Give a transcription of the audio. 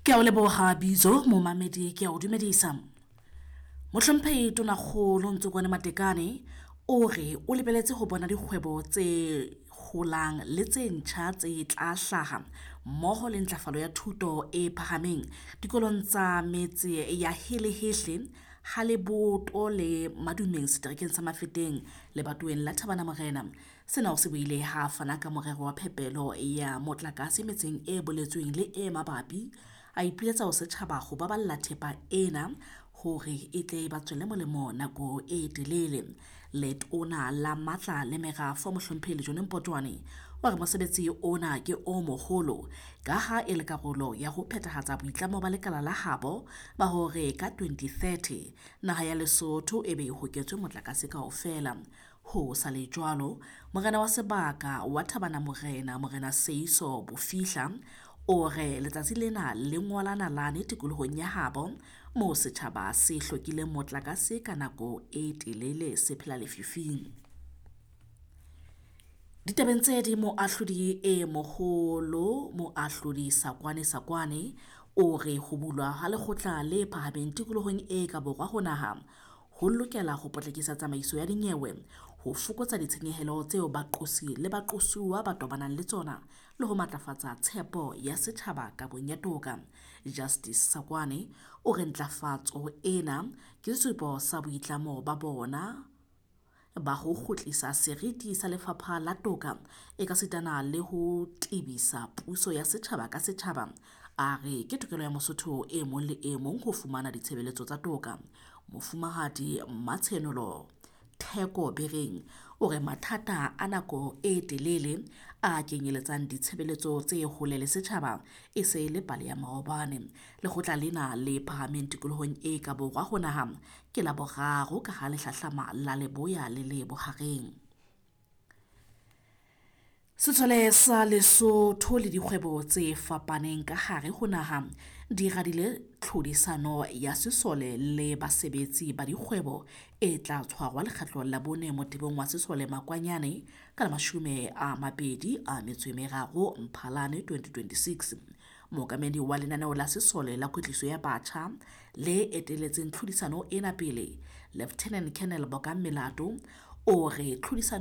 Ke a o leboha bitso momamedi, ke a o dumedisa. Mohlomphehi Tonakgolo Ntsokoane Matekane o re o lebeletse ho bona dikgwebo tse holang le tse ntjha tse tla hlaha mmoho le ntlafalo ya thuto e phahameng dikolong tsa metse ya Helehehle, Ha Leboto le Madumeng seterekeng sa Mafeteng lebatoweng la Thabana Morena. Sena o se buile ha a fana ka morero wa phepelo ya motlakase metseng e boletsweng le e mabapi. A ipiletsa ho setjhaba ho baballa thepa ena hore e tle ba tswele molemo nako e telele. Letona la Matla le Merafo Mohlomphehi Lejone Mpotjoane o re mosebetsi ona ke o moholo ka ha e le karolo ya ho phethahatsa boitlamo ba lekala la habo ba hore ka 2030 naha ya Lesotho e be e hoketswe motlakase kaofela. Ho sa le jwalo, morena wa sebaka wa Thabana Morena, Morena Seiso Bofihla, o re letsatsi lena le ngola nalane tikolohong ya habo moo setjhaba se hlokileng motlakase ka nako e telele se phela lefifing. Ditabeng tse ding, moahlodi e moholo moahlodi Sakwane Sakwane o re ho bulwa ha lekgotla le phahameng tikolohong e ka borwa ho naha ho lokela ho potlakisa tsamaiso ya dinyewe, ho fokotsa ditshenyehelo tseo baqosi le baqosuwa ba tobanang le tsona le ho matlafatsa tshepo ya setjhaba kabong ya toka. Justice Sakwane o re ntlafatso ena ke sesupo sa boitlamo ba bona ba ho kgutlisa seriti sa lefapha la toka ekasitana le ho tebisa puso ya setjhaba ka setjhaba. A re ke tokelo ya Mosotho e mong le e mong ho fumana ditshebeletso tsa toka. Mofumahadi Mmatshenolo Theko Bereng o re mathata a nako e telele a kenyeletsang ditshebeletso tse hole le setjhaba e se le pale ya maobane. Lekgotla lena le phahameng tikolohong e ka borwa ho naha ke la boraro ka ha le hlahlama la Leboya le le Bohareng. Sesole sa Lesotho le dikgwebo tse fapaneng ka hare ho naha di radile tlhodisano ya sesole le basebetsi ba dikgwebo e tla tshwarwa lekgetlo la bone motebong wa sesole Makwanyane ka la 23 Mphalane 2026. Mookamedi wa lenaneo la sesole la kwetliso ya batjha le eteletseng tlhodisano ena pele, Lieutenant Colonel Bokang Melato, o re tlhodisano